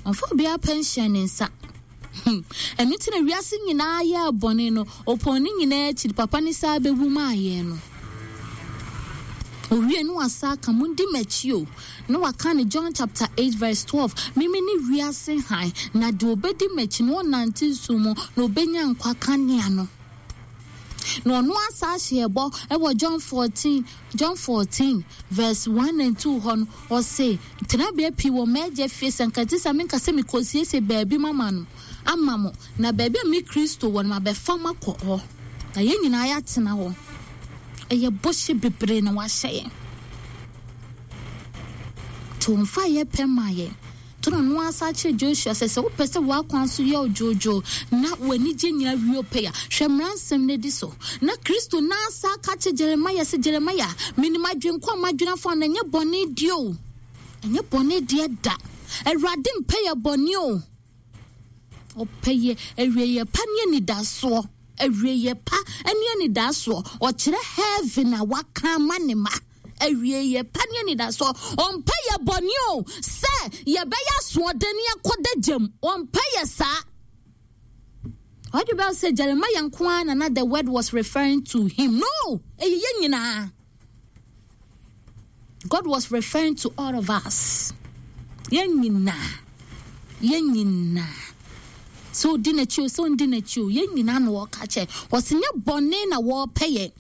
Ɔmfa obiara pɛ nhyɛ ne nsa. Hmm. Ɛno nti na wiase nyinaa yɛɛ bɔne no, ɔpɔn ne nyinaa akyiri, papa ne saa bɛwu maa yɛn no. Owie no wasa aka, mundi m'akyi o. Na waka no John chapter 8 verse 12, Mimi ne wiase hann, na deɛ ɔbɛdi m'akyi no ɔnnante sum mu, na ɔbɛnya nkwa kanea no. Na ɔno asa ahyɛ ɛbɔ wɔ John 14, John 14 verse 1 and 2 hɔ no, ɔse, Tenabea pii wɔ m'agya fie, sɛ nka ɛte saa menka sɛ mekɔsiesie baabi mama no, ama mo, na baabi a me Kristo wɔ no mabɛfa mo akɔ hɔ, na yɛn nyinaa yɛatena hɔ. Ɛyɛ bɔhyɛ bebree na wahyɛ yɛn. Nti wɔmfa yɛ pɛ ma yɛn. To na ɔno ara san kyerɛ Joshua sɛ, sɛ wopɛ sɛ w'akwan so yɛ wo dwoodwoo na w'anigye nyinaa wie pɛ a, hwɛ mmara nsɛm no di so. Na Kristo no ara san ka kyerɛ Jeremia sɛ, Jeremia, menim adwene ko a madwene afa wo no, ɛnyɛ bɔne deɛ o, ɛnyɛ bɔne deɛ da. Awurade mpɛ yɛ bɔne o. Ɔpɛ yɛ awieeɛ pa ne anidasoɔ. Awieeɛ pa ne anidasoɔ. Ɔkyerɛ heaven a waka ama ne ma. Awieeɛ pa ne anidasoɔ. Ɔmpɛ yɛ bɔne o, sɛ yɛbɛyɛ asoɔden ne yɛakɔda gyam. Ɔmpɛ yɛ saa. Ɔde bɛl sɛ Jeremiah nko ara na na the word was referring to him. No, ɛyɛ yɛn nyinaa. God was referring to all of us. Yɛn nyinaa. Yɛn nyinaa. Sɛ odi n'akyi o, sɛ ɔndi n'akyi o, yɛn nyinaa na wɔka kyɛ. Wɔsi nyɛ bɔne na wɔrepɛ yɛn.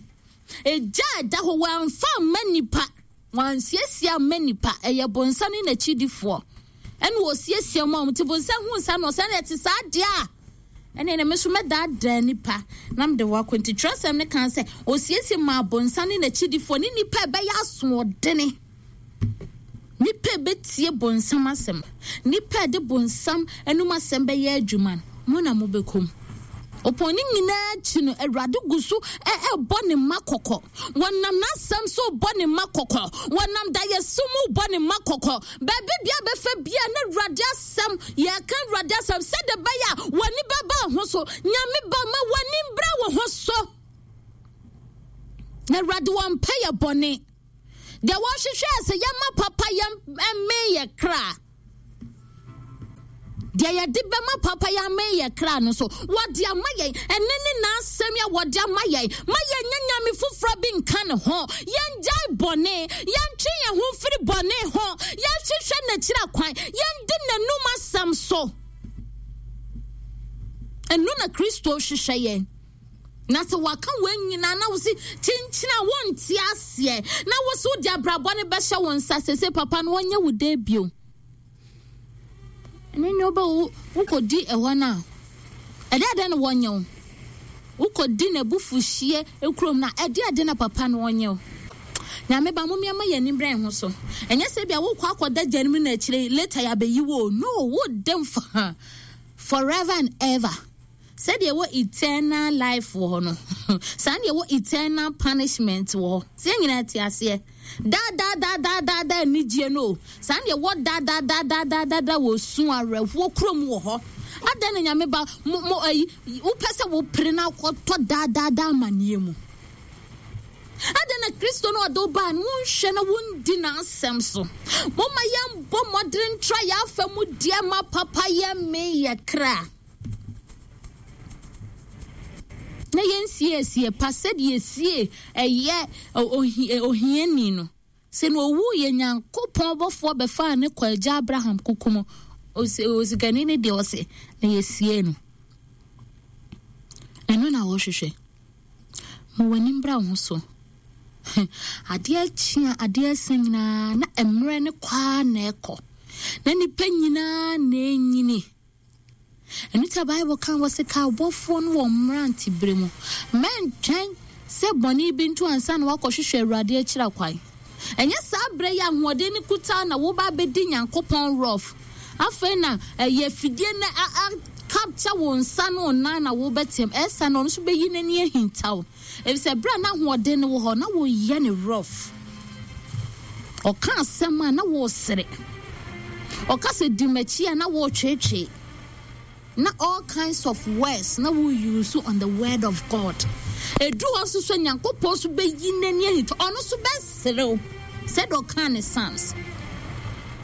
Egya a ɛda hɔ wɔamfa amma nipa, wɔansiesie amma nipa. Ɛyɛ bonsam ne n'akyidifoɔ. Ɛna wɔsiesie ma wɔn. Nti bonsam hu saa na ɔsɛ ɛte saa deɛ a ɛne na me nso mɛdaadaa nipa na mede wɔ akɔ. Nti twerɛsɛm no kan sɛ ɔsiesie maa bonsam ne n'akyidifoɔ ne nipa ɛbɛyɛ asoɔdene. Nnipa a ɛbɛtie bonsam asɛm, nnipa a ɛde bonsam anum asɛm bɛyɛ adwuma no, mo na mobɛkɔ mu. Ɔpɔn ne nyinaa akyi no, Awurade gu so ɛrebɔ ne mma kɔkɔ. Wɔnam n'asɛm so bɔ ne mma kɔkɔ. Wɔnam daeɛso mu bɔ ne mma kɔkɔ. Baabi bia bɛfa bia na Awurade asɛm, yɛka Awurade asɛm sɛdeɛ ɛbɛyɛ a w'ani bɛba ho so. Nyame ba ma w'ani mbra wo ho so. Na Awurade wɔmpɛ yɛ bɔne. Deɛ wɔhwehwɛ sɛ yɛma papa yɛ mmee yɛ kra. Deɛ yɛde bɛma papa yɛ amee yɛ kra no so wɔde ama yɛn. Ɛne ne n'asɛm yɛ wɔde ama yɛn. Ma yɛnyɛ nyame foforɔ bi nka ne ho. Yɛngyae bɔne. Yɛntwe yɛn ho mfiri bɔne ho. Yɛnhwehwɛ n'akyiri akwan. Yɛndi n'anum asɛm so. Ɛno na Kristo hwehwɛ yɛn. Na sɛ waka wɔn nyinaa na wosi kyinkyin a wonte aseɛ na wosi wode abrabɔ no bɛhyɛ wo nsa sese papa no wɔnyɛ wo dɛ bio. Ɛne ne wobɛ wokɔdi ɛhɔ no a ɛde adɛn na wɔnyɛ wo? Wokɔdi n'abufuhyeɛ kurom no a ɛde adɛn na papa no wɔnyɛ wo? Nyame ba mom yɛma yɛn ani brɛ ho so. Ɛnyɛ sɛ bia wokɔ akɔda gya no mu na akyire later yɛabɛyi wo. No, wodam fa forever and ever. Sɛdeɛ ɛwɔ eternal life wɔ hɔ no, saa na ɛwɔ eternal punishment wɔ hɔ. Sɛ yɛn nyinaa te aseɛ. Daa daa daa daa daa daa anigyeɛ no o. Saa na ɛwɔ daa daa daa daa daa daa daa wɔ su awerɛhoɔ kurom wɔ hɔ. Adɛn na nyame ba mo mo ayi wopɛ sɛ wopere na akɔtɔ daa daa daa amaneɛ mu. Adɛn na Kristo no ɔde wo baa no wonhwɛ na wondi n'asɛm so? Momma yɛmbɔ mmɔdene ntra yɛn afa mu deɛ ma papa yɛ me yɛ kra. Na yɛnsiesie pa sɛdeɛ yɛsie ɛyɛ ohiani no. Sɛ na ɔwu yɛ Nyankopɔn bɔfoɔ bɛfaa ne kɔ agya Abraham kuku mu. Osikani no deɛ ɔse na yɛsie no. Ɛno na wɔhwehwɛ. Ma w'ani mbra wo ho so. Adeɛ akyi a adeɛ asa nyinaa na mmerɛ no kɔ ara na ɛkɔ. Na nnipa nyinaa na ɛnyini. Ɛno nti na Bible ka wɔ se ka ɔbɔfoɔ no wɔ mmerantebere mu. Mɛntwɛn sɛ bɔne bi nto ansa na woakɔhwehwɛ Awurade akyira kwan. Ɛnyɛ saa berɛ yi ahoɔden no kuta na woba abɛdi Nyankopɔn rough. Afei na ɛyɛ afidie no a capture wo nsa ne wo nan na wobɛteam. Ɛsa na ɔno nso bɛyi n'ani ahinta wo. Efisɛ bere a na ahoɔden no wɔ hɔ, na wɔyɛ no rough. Ɔka asɛm a na wɔresere. Ɔka sɛ di m'akyi a na wɔretweetwee. Na all kinds of words na wo use on the word of God. Edu hɔ nso so Nyankopɔn nso bɛyi n'ani ahinta. Ɔno nso bɛserew sɛdeɛ ɔkaa ne Psalms.